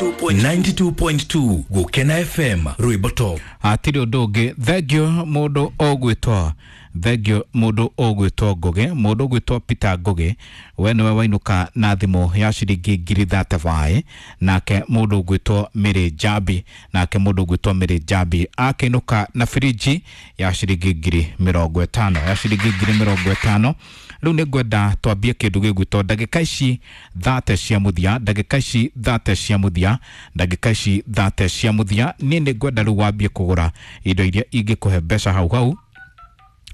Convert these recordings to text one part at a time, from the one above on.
92.2 Gukena FM rwimbo top. Hatirĩ ũndũ ũngĩ. Thengio mũndũ ũgwĩtwo, thengio mũndũ ũgwĩtwo Ngũgĩ, mũndũ ũgwĩtwo Peter Ngũgĩ, we nĩwe wainũka na thimũ ya ciringi ngiri 35. Nake mũndũ ũgwĩtwo Mary Njambi, nake mũndũ ũgwĩtwo Mary Njambi akĩinũka na birinji ya ciringi ngiri 50, ya ciringi ngiri 50. Rĩu nĩ ngwenda twambie kĩndũ gĩgwĩtwo ndagĩka ici 30 cia mũthia, ndagĩka ici 30 cia mũthia, ndagĩka ici 30 cia mũthia. Niĩ nĩ ngwenda rĩu wambie kũgũra indo iria ingĩkũhe mbeca hau hau,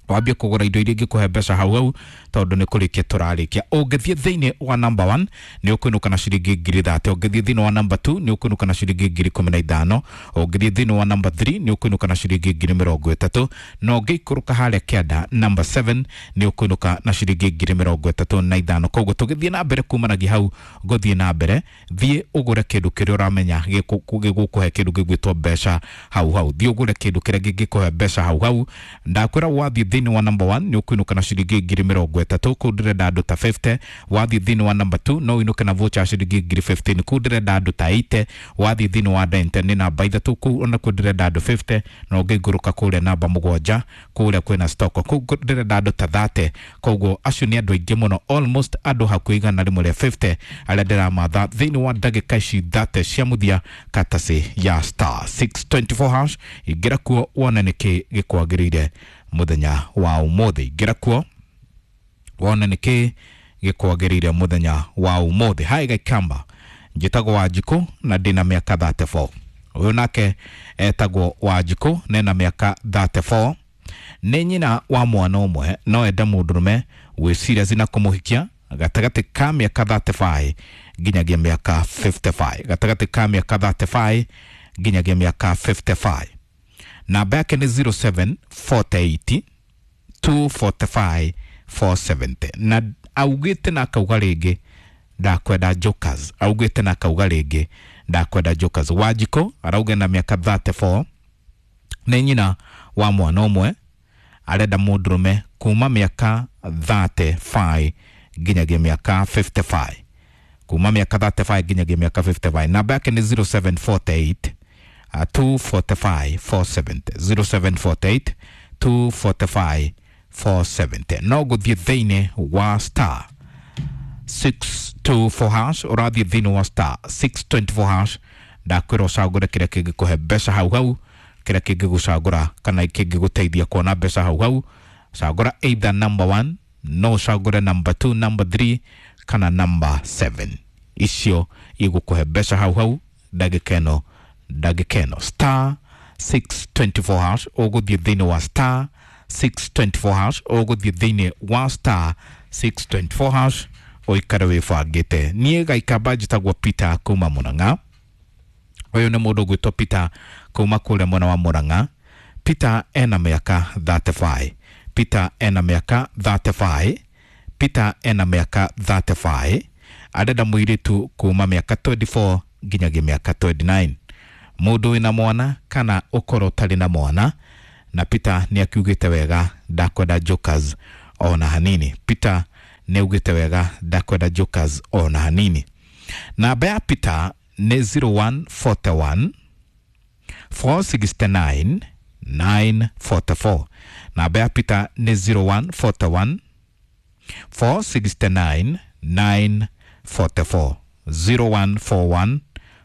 wambie kũgũra indo iria ingĩkũhe mbeca hau hau, tondũ nĩ kũrĩkia tũrarĩkia. Ũngĩthiĩ thĩinĩ wa number 1 nĩ ũkũinũka na ciringi ngiri 30, ũngĩthiĩ thĩinĩ wa number 2 nĩ ũkũinũka na ciringi ngiri 15, ũngĩthiĩ thĩinĩ wa number 3 nĩ ũkũinũka na ciringi ngiri 30, na ũngĩikũrũka harĩa kĩanda number 7 nĩ ũkũinũka na ciringi ngiri 35. Koguo tũgĩthiĩ na mbere kumanagia hau ngũthiĩ na mbere, thiĩ ũgũre kĩndũ kĩrĩa ũramenya gĩgũkũhe kĩndũ gĩgwĩtwo mbeca hau hau. Thiĩ ũgũre kĩndũ kĩrĩa gĩngĩkũhe mbeca hau hau. Ndakwĩra wathiĩ thĩinĩ wa number 1 nĩ ũkũinũka na ciringi ngiri 30, kũu ndĩrenda andũ ta 50. Wathiĩ thĩinĩ wa number 2 no ũinũke na voucher ya ciringi ngiri 15, kũu ndĩrenda andũ ta 80. Wathiĩ thĩinĩ wa 9 nĩ namba 3, kũu onakuo ndĩrenda andũ 50. Na ũngĩikũrũka kũrĩa namba 7 kũrĩa kwĩna stock, kũu ndĩrenda andũ ta 30. Koguo acio nĩ andũ aingĩ mũno, almost andũ hakuhĩ 150 arĩa ndĩramatha thĩinĩ wa ndagĩka ici 30 cia mũthia, katacĩ ya star 624 hash. Ingĩra kuo wone nĩkĩ gĩkwagĩrĩire mũthenya wa ũmũthĩ. Ingĩra kuo wone nĩkĩ gĩkwagĩrĩire mũthenya wa ũmũthĩ. Hi Gaikamba, njĩtagwo Wanjikũ na ndĩna mĩaka 34. Ũyũ nake etagwo Wanjikũ na ena mĩaka 34. Nĩ nyina wa mwana ũmwe, no ende mũndũrũme wĩ serious na kũmũhikia gatagatĩ ka mĩaka 35 nginyagia mĩaka 55, gatagatĩ ka mĩaka 35 nginyagia mĩaka 55. Namba yake nĩ 0748 245 470. Na augĩte na akauga rĩngĩ ndakwenda jokers, augĩte na akauga rĩngĩ ndakwenda jokers. Wanjikũ arauga na mĩaka 34, nĩ nyina wa mwana ũmwe, arenda mũndũrũme kuma mĩaka 35 nginyagia mĩaka 55, kuma mĩaka 35 nginyagia mĩaka 55. Namba yake nĩ 0748 245 470, 0748 245 470. No gũthiĩ thĩinĩ wa star 624 hash, ũrathiĩ thĩinĩ wa star 624 hash. Ndakwĩra ũcagũre kĩrĩa kĩngĩkũhe mbeca hau hau, kĩrĩa kĩngĩgũcagũra kana kĩngĩgũteithia kuona mbeca hau hau. Cagũra either number 1, no ũcagũre number 2, number 3 kana number 7. Icio igũkũhe mbeca hau hau ndagĩka ĩno, ndagĩka ĩno. Star 624 hash, ũgũthiĩ thĩinĩ wa star 624 hash, ũgũthiĩ thĩinĩ wa star 624 hash ũikare wĩbangĩte. Niĩ Gaikamba njĩtagwo Peter kuma Murang'a. Ũyũ nĩ mũndũ ũgwĩtwo Peter kuma kũrĩa mwena wa Murang'a. Peter ena mĩaka 35, Peter ena mĩaka 35, Peter ena mĩaka 35. Arenda mũirĩtu kuma mĩaka 24 nginyagia mĩaka 29, mũndũ wĩna mwana kana ũkorwo ũtarĩ na mwana. Na Peter nĩ akiugĩte wega ndakwenda jokers ona hanini. Peter nĩ augĩte wega ndakwenda jokers ona hanini. Namba ya Peter nĩ 0141 469 944. Namba ya Peter nĩ 0141 469 944, 0141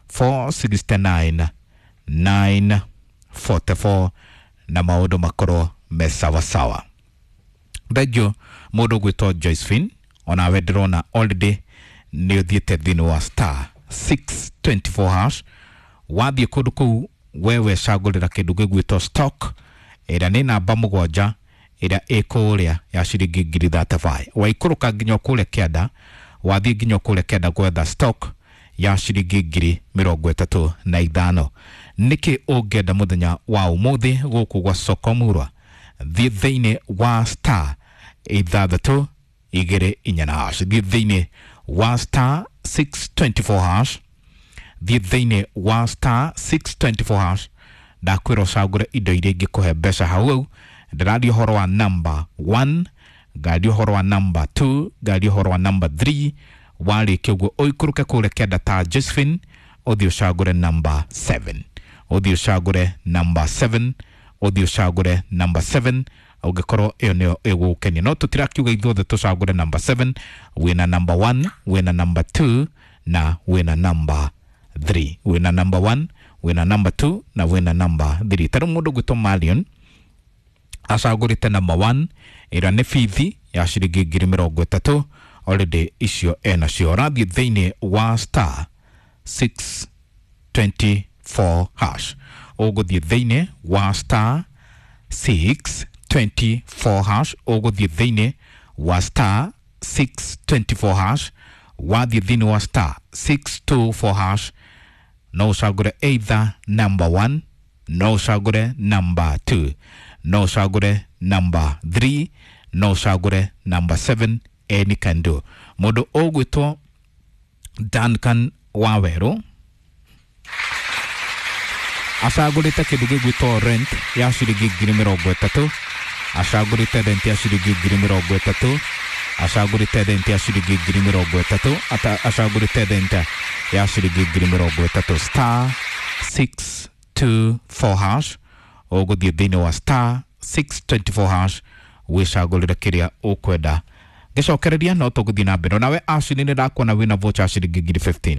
469 944, na maũndũ makorwo me sawasawa. Thengio mũndũ ũgwĩtwo Josephine, onawe ndĩrona already nĩ ũthiĩte thĩinĩ wa star 624 hash. Wathiĩ kũndũ kũu wewe cagũrĩra kĩndũ gĩgwĩtwo stock ĩrĩa nĩ namba 7 ĩrĩa ĩ kũrĩa ya ciringi ngiri 35. Waikũrũka nginya kũrĩa kĩanda, wathiĩ nginya kũrĩa kĩanda gwetha stock ya ciringi ngiri 35. Nĩkĩ ũngĩenda mũthenya wa ũmũthĩ gũkũ gwa Soko Murwa? Thiĩ thĩinĩ wa star 624 hash, thiĩ thĩinĩ wa star 624 hash, thiĩ thĩinĩ wa star 624 hash. Ndakwĩra ũcagũre indo iria ingĩkũhe mbeca hau hau. Ndĩraria ũhoro wa number 1, ngaria ũhoro wa number 2, ngaria ũhoro wa number 3. Warĩkia ũguo ũikũrũke kũrĩa kĩanda ta Josephine. Ũthiĩ ũcagũre number 7, ũthiĩ ũcagũre number 7, ũthiĩ ũcagũre number 7 ũngĩkorwo ĩyo nĩyo ĩgũgũkenia. No tũtirakiuga ithuothe tũcagũre number 7. Wĩna number 1, wĩna number 2 na wĩna number 3. Wĩna number 1, wĩna number 2 na wĩna number 3. Ta rĩu mũndũ ũgwĩtwo Marion acagũrĩte number 1, ĩrĩa nĩ bithi ya ciringi 30,000. Already icio enacio. Ũrathiĩ thĩinĩ wa star 624 hash, ũgũthiĩ thĩinĩ wa star 624 hash, ũgũthiĩ thĩinĩ wa star 624 hash. Wathiĩ thĩinĩ wa star 624 hash, no ũcagũre either number 1, no ũcagũre number 2, no ũcagũre number 3, no ũcagũre number 7. Any can do. Mũndũ ũgwĩtwo Duncan Wawerũ acagũrĩte kĩndũ gĩgwĩtwo rent ya ciringi 30,000. Acagũrĩte rent ya ciringi 30,000. Acagũrĩte rent ya ciringi 30,000. Acagũrĩte rent ya ciringi 30,000. Star 624 hash, ũgũthiĩ thĩinĩ wa star 624 hash wĩcagũrĩre kĩrĩa ũkwenda. Ngĩcokereria no tũgũthiĩ na mbere nawe. Acini nĩ ndakuona wĩna vocha ya ciringi 15,000.